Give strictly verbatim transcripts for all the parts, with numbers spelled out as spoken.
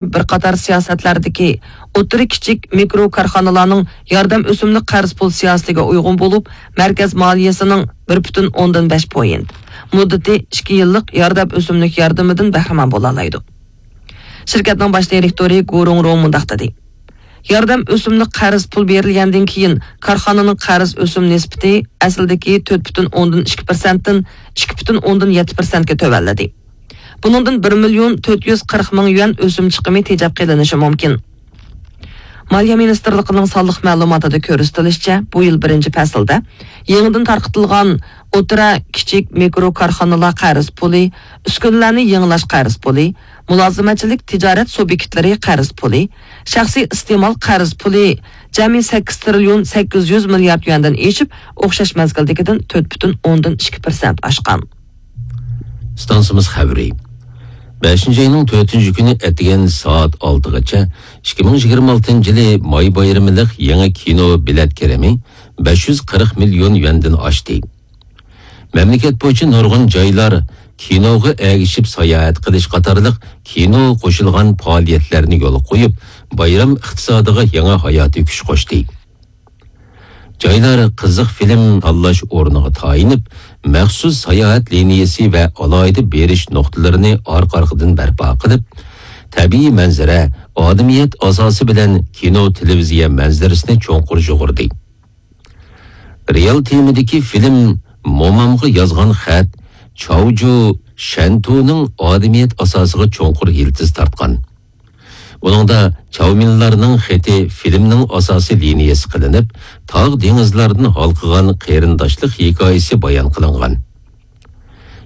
بىر قاتار سىياسەتلەردىكى ئوتتۇرا، كىچىك، مىكرو كارخانىلارنىڭ ياردەم ئۆسۈملۈك قەرز پۇل سىياسىتىگە ئۇيغۇن بولۇپ، مەركەز مالىيەسىنىڭ بىر پۈتۈن ئوندىن بەش پوينت، مۇددىتى ئىككى يىللىق ياردەم ئۆسۈملۈك ياردىمىدىن بەھرىمەن بولالايدۇ. شىركەتنىڭ باش دىرېكتورى گۇ رۇڭرۇڭ مۇنداق دېدى: ياردەم ئۆسۈملۈك قەرز پۇل بېرىلگەندىن كېيىن، كارخانىنىڭ قەرز ئۆسۈم نىسبىتى ئەسلىدىكى تۆت پۈتۈن ئوندىن ئىككى پىرسەنتتىن ئىككى پۈتۈن ئوندىن يەتتە پىرسەنتكە تۆۋەنلىدى. بۇنىڭدىن بىر مىليون تۆت يۈز قىرىق مىڭ يۈەن ئۆسۈم چىقىمى تېجەپ قېلىنىشى مۇمكىن. مالىيە مىنىستىرلىقىنىڭ سانلىق مەلۇماتىدا كۆرسىتىلىشىچە، بۇ يىل بىرىنچى پەسىلدە يېڭىدىن تارقىتىلغان ئوتتۇرا، كىچىك، مىكرو كارخانىلار قەرز پۇلى، ئۈسكۈنىلەرنى يېڭىلاش قەرز پۇلى، مۇلازىمەتچىلىك تىجارەت سۇبيېكتلىرى قەرز پۇلى، شەخسىي ئىستېمال قەرز پۇلى جەمئىي سەككىز تىرىليون سەككىز يۈز مىليارد يۈەندىن ئېشىپ، ئوخشاش مەزگىلدىكىدىن تۆت پۈتۈن ئوندىن ئىككى پىرسەنت ئاشقان. ئىستانسىمىز خەۋىرى. بەشىنچى ئاينىڭ تۆتىنچى كۈنى ئەتىگەن سائەت ئالتىغىچە ئىككى مىڭ يىگىرمە ئالتىنچى يىلى ماي بايرىمىلىق يېڭى كىنو بېلەت كىرىمى بەش يۈز قىرىق مىليون يۈەندىن ئاشتى. مەملىكەت بويىچە نۇرغۇن جايلار كىنوغا ئەگىشىپ ساياھەت قىلىش قاتارلىق كىنو قوشۇلغان پائالىيەتلەرنى يولغا قويۇپ، بايرام ئىقتىسادىغا يېڭى ھاياتىي كۈچ قوشتى. جايلار قىزىق فىلىم تاللاش ئورنىغا تايىنىپ، مەخسۇس ساياھەت لىنىيەسى ۋە ئالاھىدە بېرىش نۇقتىلىرىنى ئارقا-ئارقىدىن بەرپا قىلىپ، تەبىئىي مەنزىرە، ئادىمىيەت ئاساسى بىلەن كىنو، تېلېۋىزىيە مەنزىرىسىنى چوڭقۇر يۇغۇردى. رېئال تېمىدىكى فىلىم مومامغا يازغان خەت چاۋجۇ شەنتۇنىڭ ئادىمىيەت ئاساسىغا چوڭقۇر يىلتىز تارتقان. ئۇنىڭدا چاۋمىنلارنىڭ خېتى فىلىمنىڭ ئاساسىي لىنىيەسى قىلىنىپ، تاغ دېڭىزلاردىن ھالقىغان قېرىنداشلىق ھېكايىسى بايان قىلىنغان.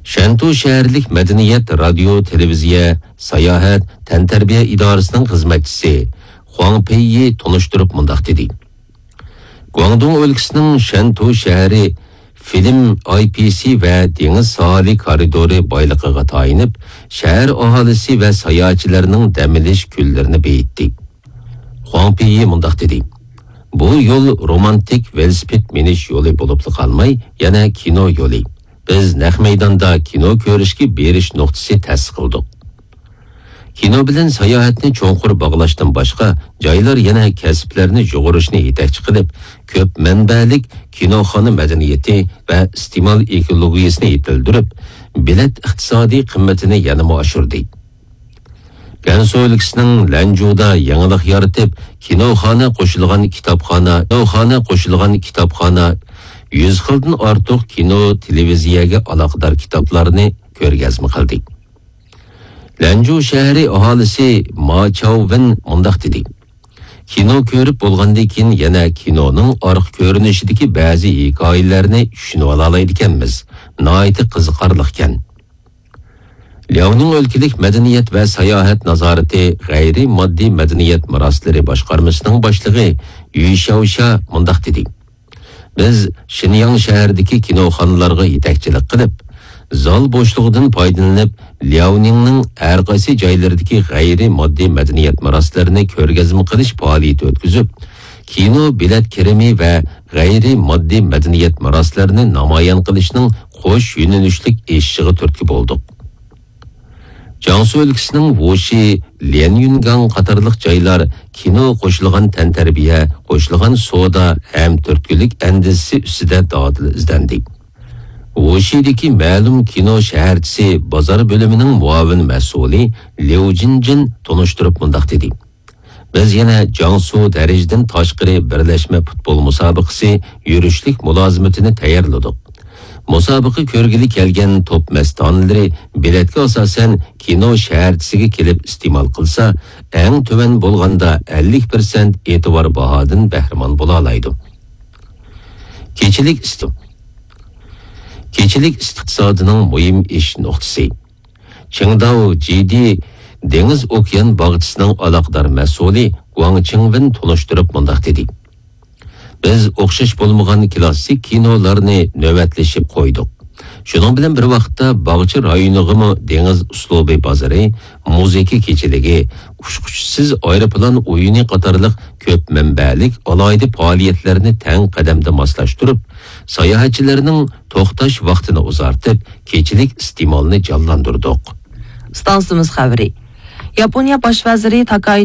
شەنتۇ شەھەرلىك مەدەنىيەت، رادىيو، تېلېۋىزىيە، ساياھەت، تەنتەربىيە ئىدارىسىنىڭ خىزمەتچىسى خۇاڭ پېيى تونۇشتۇرۇپ مۇنداق دېدى: گۇاڭدۇڭ ئۆلكىسىنىڭ شەنتۇ شەھىرى فىلىم، ئاي پى سى ۋە دېڭىز ساھىلى كارىدورى بايلىقىغا تايىنىپ، شەھەر ئاھالىسى ۋە ساياھەتچىلەرنىڭ دەم ئېلىش كۈنلىرىنى بېيىتتى. خۇاڭ پېيى مۇنداق دېدى: بۇ يول رومانتىك ۋېلىسىپىت مىنىش يولى بولۇپلا قالماي، يەنە كىنو يولى. بىز نەق مەيداندا كىنو كۆرۈشكە بېرىش نۇقتىسى تەسىس قىلدۇق. كىنو بىلەن ساياھەتنى چوڭقۇر باغلاشتىن باشقا، جايلار يەنە كەسىپلەرنى يۇغۇرۇشنى يېتەكچى قىلىپ، كۆپ مەنبەلىك كىنوخانا مەدەنىيىتى ۋە ئىستېمال ئېكولوگىيىسىنى يېتىلدۈرۈپ، بېلەت ئىقتىسادىي قىممىتىنى يەنىمۇ ئاشۇردى. گەنسۇ ئۆلكىسىنىڭ لەنجۇدا يېڭىلىق يارىتىپ، كىنوخانا قوشۇلغان كىتابخانا، كىنوخانا قوشۇلغان كىتابخانا يۈز خىلدىن ئارتۇق كىنو، تېلېۋىزىيەگە ئالاقىدار كىتابلارنى كۆرگەزمە قىلدى. لەنجۇ شەھىرى ئاھالىسى ما چاۋۋىن مۇنداق دېدى: كىنو كۆرۈپ بولغاندىن كېيىن يەنە كىنونىڭ ئارقا كۆرۈنۈشىدىكى بەزى ھېكايىلەرنى چۈشىنىۋالالايدىكەنمىز. ناھايىتى قىزىقارلىقكەن. لياۋنىڭ ئۆلكىلىك مەدەنىيەت ۋە ساياھەت نازارىتى غەيرىي ماددىي مەدەنىيەت مىراسلىرى باشقارمىسىنىڭ باشلىقى يۈ شياۋشيا مۇنداق دېدى: بىز شىنياڭ شەھىرىدىكى كىنوخانىلارغا يېتەكچىلىك قىلىپ، زال بوشلۇقىدىن پايدىلىنىپ، لياۋنىڭنىڭ ھەر قايسى جايلىرىدىكى غەيرىي ماددىي مەدەنىيەت مىراسلىرىنى كۆرگەزمە قىلىش پائالىيىتى ئۆتكۈزۈپ، كىنو بېلەت كىرىمى ۋە غەيرىي ماددىي مەدەنىيەت مىراسلىرىنى نامايان قىلىشنىڭ قوش يۆنىلىشلىك ئېشىشىغا تۈرتكە بولدۇق. جياڭسۇ ئۆلكىسىنىڭ ۋۇشى، ليەنيۈنگاڭ قاتارلىق جايلار كىنو، قوشۇلغان تەنتەربىيە، قوشۇلغان سودا ھەم تۈرتكىلىك ئەندىزىسى ئۈستىدە دادىل ئىزدەندى. ۋۇشىدىكى مەلۇم كىنو شەھەرچىسى بازار بۆلۈمىنىڭ مۇئاۋىن مەسئۇلى ليۇ جىنجىن تونۇشتۇرۇپ مۇنداق دېدى: بىز يەنە جياڭسۇ دەرىجىدىن تاشقىرى بىرلەشمە پۇتبول مۇسابىقىسى يۈرۈشلۈك مۇلازىمىتىنى تەييارلىدۇق. مۇسابىقە كۆرگىلى كەلگەن توپ مەستانىلىرى بېلەتكە ئاساسەن كىنو شەھەرچىسىگە كېلىپ ئىستېمال قىلسا، ئەڭ تۆۋەن بولغاندا ئەللىك پىرسەنت ئېتىبار باھادىن بەھرىمەن بولالايدۇ. كېچىلىك ئىستىق-، كېچىلىك ئىستىقسادىنىڭ مۇھىم ئېشىش نۇقتىسى. چىڭداۋ جىدى دېڭىز ئوكيان باغچىسىنىڭ ئالاقىدار مەسئۇلى گۇاڭ چىڭۋېن تونۇشتۇرۇپ مۇنداق دېدى: بىز ئوخشاش بولمىغان كلاسسىك كىنولارنى نۆۋەتلىشىپ قويدۇق. شۇنىڭ بىلەن بىر ۋاقىتتا، باغچە رايونىغىمۇ دېڭىز ئۇسلۇبى بازىرى، مۇزىكا كېچىلىكى، ئۇچقۇچىسىز ئايروپىلان ئويۇنى قاتارلىق كۆپ مەنبەلىك ئالاھىدە پائالىيەتلەرنى تەڭ قەدەمدە ماسلاشتۇرۇپ، ساياھەتچىلەرنىڭ توختاش ۋاقتىنى ئۇزارتىپ، كېچىلىك ئىستېمالنى جانلاندۇردۇق. ئىستانسىمىز خەۋىرى. ياپونىيە باش ۋەزىرى تاكاي